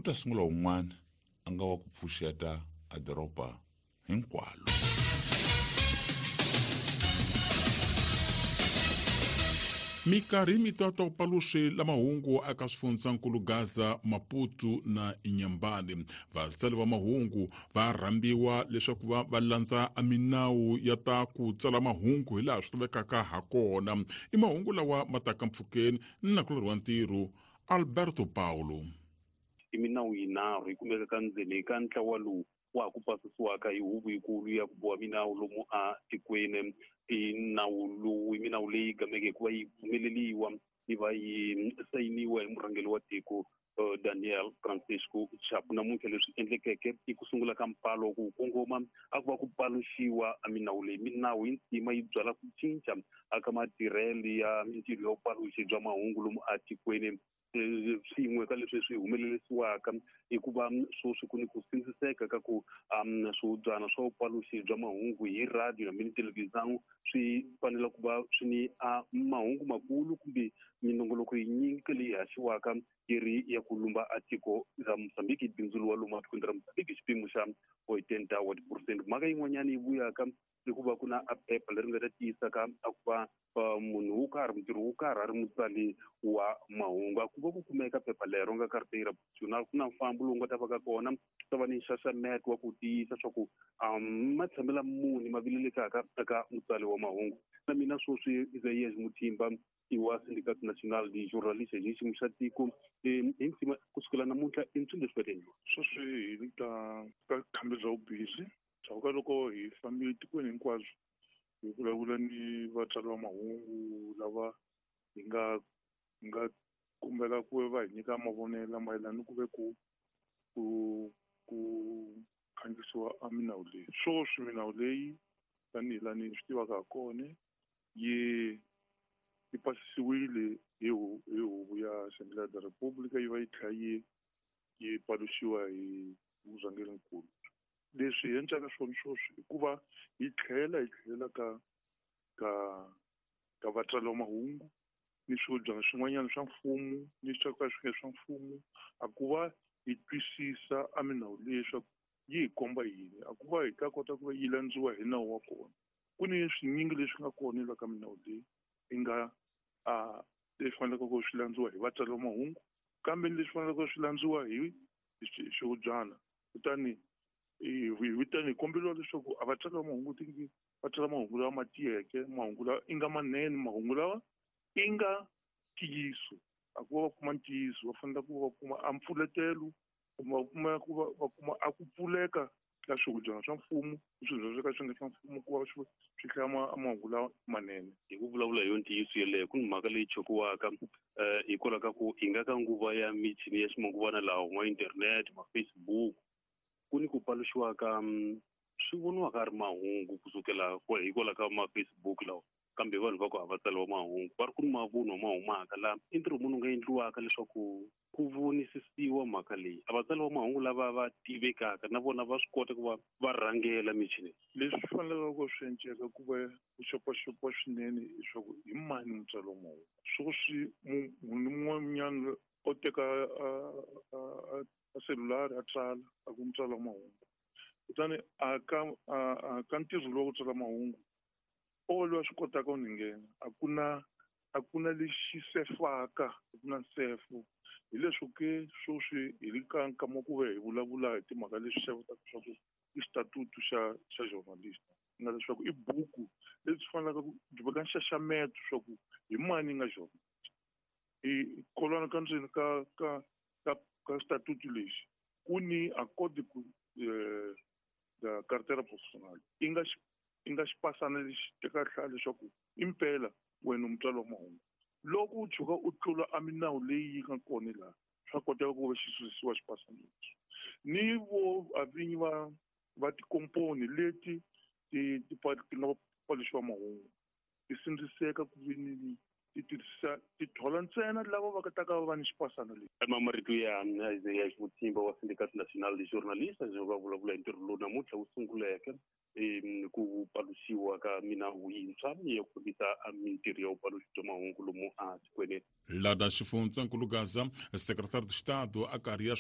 Ku ta sungula wun'wana a nga wa ku pfuxeta a doroba hinkwalo. Mikarhi mitwa paluxi la mahungu aka swifundzankulu Gaza, Maputo na Inhambane. Vatsali va mahungu va rhambiwa leswaku va landza minawu ya ta ku tsala mahungu hi laha swi lavekaka ha kona. I mahungu lawa ma taka mpfhukeni na kulorhi wa ntirho Alberto Paulo. I minawu yinharhu yi kumeka ka ndzeni ka ntlawa lowu wa ha ku pasisiwaka hi huvo yikulu ya ku boha minawu lomu a tikweni. I nawu lowu i minawu leyi gameke hikuva yi pfumeleliwa yi va yi sayiniwa hi murhangeri wa tiko Daniel Francisco Chapo. Namuntlha leswi endlekeke i ku sungula ka mpalo ku kongoma a ku va ku paluxiwa minawu leyi. Minawu yi ntima yi byala ku cinca aka matirhelo ya mintirho ya vupaluxi bya mahungu lomu a tikweni. Swin'we ka leswi swi humelerisiwaka i ku va sweswi ku ni ku sindziseka ka ku swihubyana swa vupaluxi bya mahungu hi radio na mini televhizão swi fanele ku va swi ni mahungu makulu kumbe minongoloko yinyingi leyi haxiwaka yi ri ya ku lumba a tiko ra Mozambique, bindzu lowa lomu atikweni ra Mozambique xipimo xa 80 wa tiphurosente. Mhaka yin'wanyana yi vuyaka i ku va ku na a phepha leri nga ta tiyisaka a ku va munhu wo karhi, mutirhi wo karhi a ri mutsali wa mahungu. A ku va ku kumeka phepha lero nga carteira profissional, ku na mfambo lowu nga ta va ka kona, ku ta va ni nxaxameto wa ku tiyisa swa ku matshamelo muni ma vilelekaka eka mutsali wa mahungu. Na mina sweswi Isaías Muthimba i wa Sindicato Nacional de Jornalistas hi xiyimo xa tiko hi ntima kusukela namuntlha i ntswi leswi va endliwa. Sweswi hi le ka khambi bya vubizi ndzhaku ka loko hi fambile tikweni hinkwabyo hi vulavula ni vatsari va mahungu lava hi nga kombela ku va hi nyika mavonelo mayelana ni ku ve ku khandziyisiwa a minawu leyi. Sweswi minawu leyi tanihi laha ni swi tivaka ha kona yi pasisiwile hi huvo ya Assembleia da República yi va yi tlhela yi paluxiwa hi murhangerinkulu. Leswi hi endlaka swona sweswi i ku va hi tlhela hi tlhelela ka vatsari va mahungu ni swihubyana swin'wanyana swa mfumo ni swa ka swi nga swa mfumo, a ku va hi twisisa a minawu leyi leswaku yi hi komba yini, a ku va hi ta kota ku va yi landziwa hi nawu wa kona. Ku ni swinyingi leswi nga kona la ka minawu leyi yi nga leswi faneleke ku swi landziwa hi vatsari va mahungu, kambe ni leswi faneleke swi landziwa hi swihubyana. Kutani hi komberiwa leswaku a vatsari va mahungu tingi va tsala mahungu lawa ma tiyeke, mahungu lawa i nga manene, mahungu lawa i nga ntiyiso. A ku va va kuma ntiyiso, va fanele ku va kuma a mpfuletelo, kumbe va kuma ku va va kuma a ku pfuleka ka swihubyana swa mfumo, swihubyana swo ka swi nga swa mfumo, ku va swi hlaya mahungu lawa manene. Hi ku vulavula hi yo ntiyiso yeleyo, ku ni mhaka leyi chokiwaka hikwalaho ka ku hi nga ka nguva ya michini ya ximanguvana lawa, ma internet, ma Facebook, ku ni ku paluxiwa ka swi voniwaka a ri mahungu kusukela hikwalaho ka ma Facebook lawa, kambe vanhu va ku a va tsariwa mahungu, va ri ku ni mavunwa ma humaka laha. I ntirho muni wu nga endliwaka leswaku ku vonisisiwa mhaka leyi? A vatsari va mahungu lava va tivekaka na vona va swi kota ku va va rhangela michini. Leswi swi faneleke ku swi enceka ku va ku xopaxopiwa swinene leswaku hi mani mutsari wa mahungu. Sweswi munhu un'wanyana o teka a selulari a tsala a ku mutsari wa mahungu, kutani a ka ntirho lowu wa ku tsala mahungu o loyi a swi kotaka ku ni nghena, a ku na lexi sefaka, a ku na nsefo. Hi leswo ke sweswi hi le ka nkama wa ku va hi vulavula hi timhaka leswi xavutaka swa ku i xitatutu xa journalist, nga leswaku i buku lebyi faneleke ku byi veka nxaxameto swa ku hi mani nga journalist. I kolwana ka ndzeni ka xitatutu lexi ku ni a code ku da carteira profissional i nga i nga xipasana lexi teka hlaya leswaku impela wena mutswari wa mahungu. Loko u tshuka u tlula a minawu leyi yi nga kona laha, swa koteka ku va xi susiwa xipasana lexi. Ni vo a vinyi va tikomponi leti ti nga paluxiwa mahungu ti sindziseka ku vi ni ti tirhisa ti thola ntsena lava va ta ka va ni xipasana lexi. Marito ya Isaías Muthimba wa Sindicato Nacional de Jornalistas va vulavula hi ntirho lowu namuntlha wu sunguleke ku paluxiwa ka minawu yintshwa ya ku fambisa mintirho ya vupaluxi bya mahungu lomu a tikweni. Lada xifundzankulu Gaza, secretário de Estado a karhi ya